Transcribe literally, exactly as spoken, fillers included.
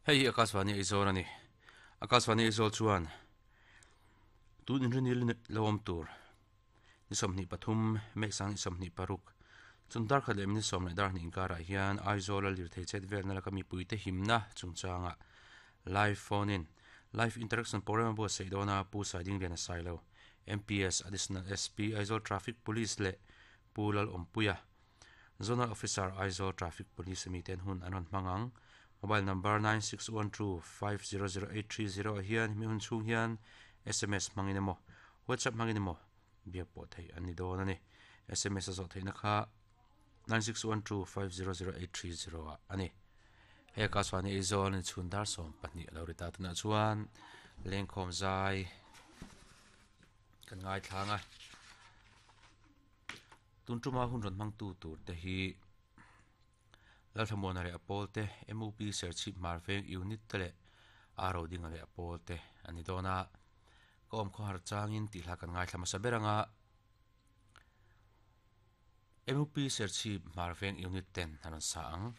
Hei hi Akashvani Aizawl a ni. Akashvani Aizawl chuan tun inrinil lo awm tur ni sawmhnih pathum May sang ni sawmhnih paruk chun dar khat leh minute sawm leh dar hnih inkarah hian Aizawl a lirthei chet velna laka mipuite himna chungchangah live phone in live interaction program a buatsaih dawn a Pu Saidingliana Sailo M P S Additional S P Aizawl Traffic Police leh Pu Lalawmpuia Zonal Officer Aizawl Traffic Police ami ten hun an rawn hmang ang. Mobile number nine six one two five zero zero eight three zero ah hian hemi hun chhung hian S M S hmangin emaw WhatsApp hmangin emaw biak pawh theih an ni dawn a ni. S M S a zawh theihna kha nine six one two five zero zero eight three zero ah a ni. Hei Akashvani Aizawl ni chhun dar sawm pahnih a lo ri ta tunah chuan lengkhawm zai kan ngaithlang a. Tun tuma hun rawn hmangtu tur te hi Lalthlamuana leh a pawl te M U P Serchhip Hmarveng unit te leh Aro Dinga leh a pawl te a ni dawn a. Ka awm khawhar changin tih hla kan ngaithla hmasa ber anga M U P Serchhip Hmarveng unit ten a rawn sa ang.